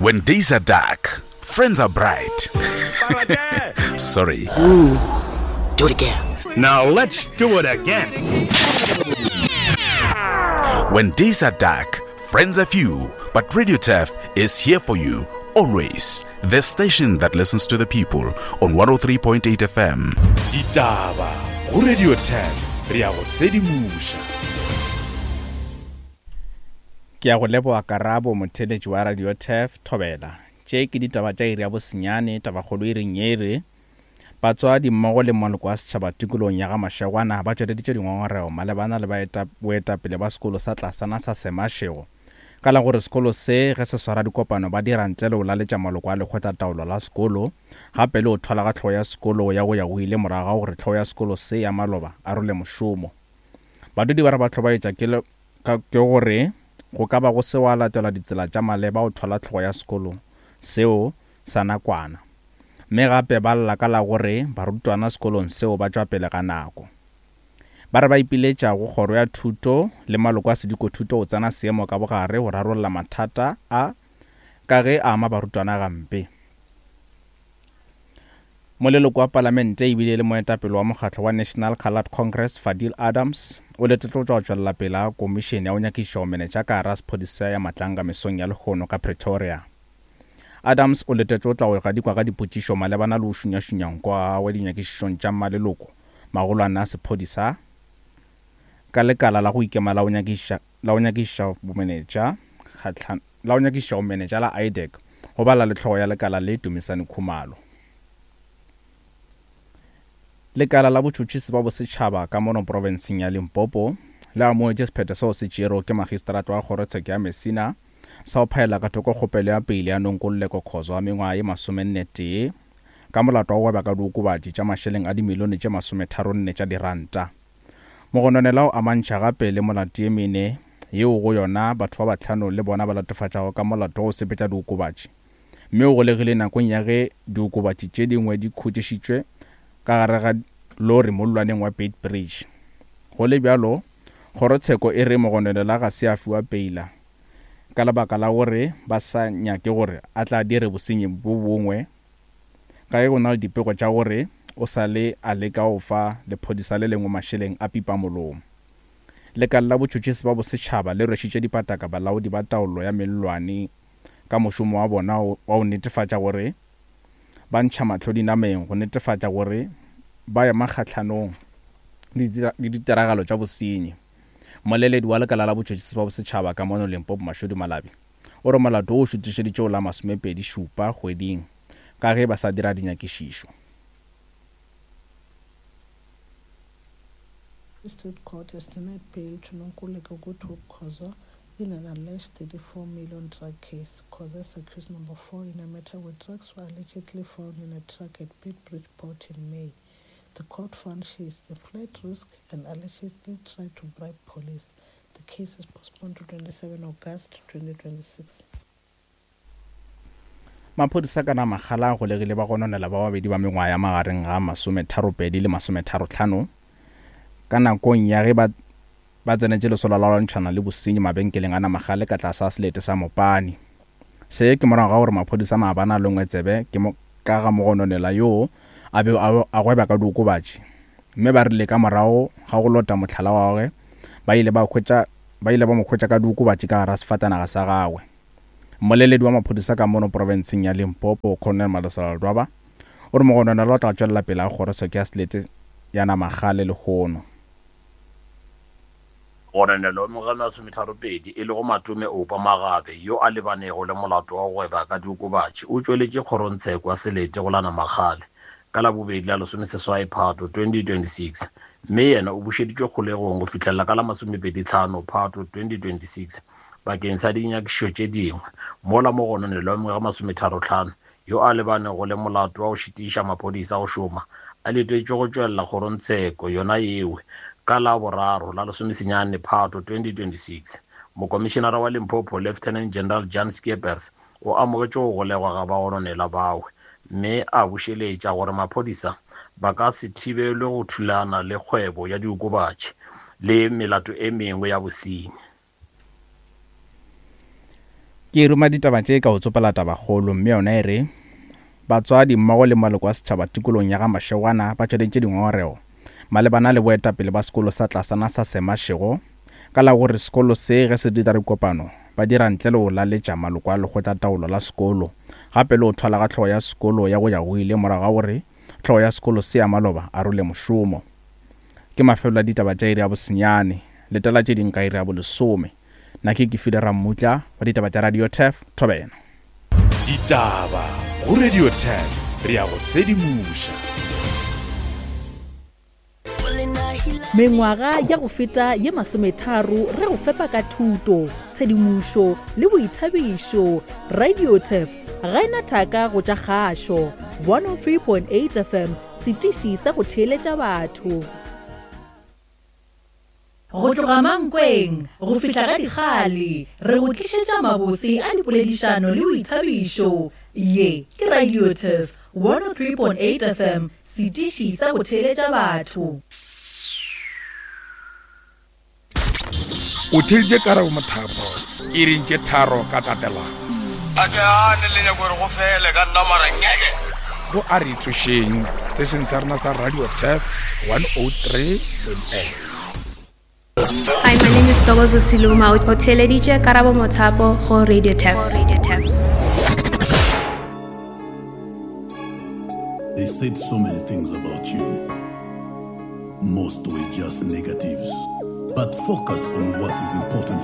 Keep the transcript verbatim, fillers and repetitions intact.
When days are dark, friends are bright. Sorry. Ooh, do it again. Now let's do it again. When days are dark, friends are few, but Radio Turf is here for you always. The station that listens to the people on one oh three point eight F M. Ditaba go Radio Turf, re ya go sedimoša. Ke ya go leboga Karabo, motheeletši wa Radio Turf Thobela. Tše ke ditaba tša iri ya bosenyane, tabakgolo e reng e re batswadi mmogo le maloko a setšhaba tikologong ya ga Mashegwana ba tšweleditše dingongorego malebana le baeta-, boetapele ba sekolo sa tlasana sa Semashego ka la gore sekolo se ge se swara dikopano ba dira ntle le go laletša maloko a lekgotlataolo la sekolo, gape le go thwala ga tlhogo ya sekolo ya go ya go ile morago ga gore tlhogo ya sekolo se ya maloba a role mošomo. Badudi ba re ba hlobaetša ke le, ka, ke gore go ka ba go se wa latelwa ditsela tša maleba go thwala tlhogo ya sekolo seo sa nakwana, mme gape ba lla ka la gore barutwana sekolong seo ba tšwa pele ga nako. Ba re ba ipiletša go kgoro ya thuto le maloko a sedikothuto go tsena seemo ka bogare go rarolla mathata a ka ge a ama barutwana gampe. Moleloko wa palamente ebile le moetapele wa mokgatlo wa National Coloured Congress Fadil Adams o letetše go tšwa go tšwelela pele ga komišene ya go nyakišiša go menetša ka gare ga sephodisa ya Matlanga mesong ya lehono ka Pretoria. Adams o letetše go tla go gadikwa ka dipotšišo malebana le go šunyašunya nko wa gagwe dinyakišišong tša maleloko magolwane a sephodisa ka lekala la go ikema la go nyakišiša, la go nyakišiša bomenetša kgahlan-, la go nyakišiša bomenetša la I D E C go bala le tlhogo ya lekala le Dumisani Khumalo. Lekala la botšhotšhisi ba bosetšhaba ka mono profenseng ya Limpopo le amogetše sephetho seo se tšerwego ke magistrata wa kgorotsheko ya Messina sa go phaela ka thoko kgopelo ya pele ya Nonkululeko Khoza wa mengwaga ye masomenne tee ka molato wa go gweba ka diokobatši tša mašeleng a dimilione tše masometharonne tša diranta. Mogononela o amantšha gape le molato ye mene yeo go yona batho ba bahlano le bona ba latofatšago ka molato wa go sepetša diokobatši, mme o golegile nakong ya ge diokobatši tše dingwe di khutšišitšwe ka gare ga lori mollwaneng wa Beitbridge. Go le bjalo, kgorotsheko e re mogononela ga se a fiwa peila ka lebaka la gore ba sa nyake gore a tla dire bosenyi bo bongwe, ka ge go na le dipego tša gore o sa le a leka go fa lephodisa le lengwe mašeleng a pipa molomo. Lekala la botšhotšhisi ba bosetšhaba le rwešitše dipataka balaodi ba taolo ya mellwane ka mošomo wa bona wa go netefatša gore ba ntšha mahlo dinameng go netefatša gore ba ema kgahlanong le ditiragalo tša bosenyi. Moleledi wa lekala la botšhotšhisi ba bosetšhaba ka mono Limpopo Mashudu Malabi o re molato wo o šutišeditše go la masomepedi šupa kgweding ka ge ba sa dira dinyakišišo. District Court has denied bail to Nonkululeko Goodhope Khoza in an alleged thirty-four million drug case. Khoza is accused number four in a matter where drugs were allegedly found in a truck at Beitbridge Port in May. The court found she is a flight risk and allegedly tried to bribe police. The case is postponed to twenty-seven August twenty twenty-six. Maphodisa ka Namakgala a golegile ba gononela ba babedi ba mengwaga ya magareng ga masometharopedi le masometharotlhano ka nakong ya ge ba, ba tsenetše lesolo la go lwantšhana le bosenyi mabenkeleng a Namakgale ka tlase ga selete sa Mopani. Se ke morago ga gore maphodisa maabane a longwe tsebe ke mo, ka ga mogononela yoo a be a, a gweba ka diokobatši, mme ba rile ka morago ga go lota mohlala wa gagwe ba ile ba hwetša, ba ile ba mo hwetša ka diokobatši ka gare ga sefatanaga sa gagwe. Mmoleledi wa maphodisa ka mono profenseng ya Limpopo Colonel Malesela Ledwaba o re mogononelwa o tla tšwelela pele ga kgorotsheko ya selete ya Namakgale lehono. Mogononelwa wa mengwaga e masometharopedi e lego Matome Oupa Magabe yo a lebanego le molato wa go gweba ka diokobatši o tšweletše kgorotsheko ya selete go la Namakgale ka labobedi la lesomeseswai Phato twenty twenty-six, mme yena o bušeditšwe kgolegong go fihlela ka la masomepedi tlhano Phato twenty twenty-six bakeng sa dinyakišišo tše dingwe. Mola mogononelwa wa mengwaga e masometharotlhano yo a lebanego le molato wa go šitiša maphodisa go šoma a letetšwe go tšwelela kgorotsheko yona yeo ka la boraro la lesomesenyane Phato twenty twenty-six. Mokomišenara wa Limpopo Lieutenant General Jan Skeepers o amogetše go golegwa ga bagononelwa bao, mme a bušeletša gore maphodisa ba ka se thibelwe go thulana le kgwebo ya diokobatši le melato e mengwe ya bosenyi. Ke ruma ditaba tše ka go tsopela tabakgolo mme yona e re batswadi mmogo le maloko a setšhaba tikolong ya ga Mashegwana ba tšweleditše dingongorego malebana le boetapele ba sekolo sa tlasana sa Semashego ka la gore sekolo se ge se dira dikopano ba dira ntle le go laletša maloko a lekgotlataolo la sekolo gape le go thwala ga hlogo ya sekolo ya go ya go ile morago ga gore hlogo ya sekolo se ya maloba a role mošomo. Ke mafelo a ditaba tša iri ya bosenyane, letela tše ding ka iri ya bolesome. Nna ke Kefile Rammutla wa ditaba tša Radio Turf Thobela. Ditaba go Radio Turf, re ya go sedimoša. Mengwaga ya go feta ye masometharo re go fepa ka thuto, tshedimošo le boithabišo. Radio Turf ga ena thaka go tša kgašo. one oh three point eight F M, setiši sa go theeletša batho. Go tloga Mankweng go fihla ga Dikgale, re go tlišetša mabose a dipoledišano le boithabišo. Ye ke Radio Turf one oh three point eight F M, setiši sa go theeletša batho. O theeditše Karabo Mothapo iring tše tharo ka tatelano. A ke gane le nyako gore go fele ka nna mara ngeke. Go a re tsošeng station sa rena sa Radio Turf one oh three point eight. Hi, my name is Togozo Siluma. O theeleditše Karabo Mothapo go Radio Turf. Radio Turf. They said so many things about you. Most were just negatives. But focus on what is important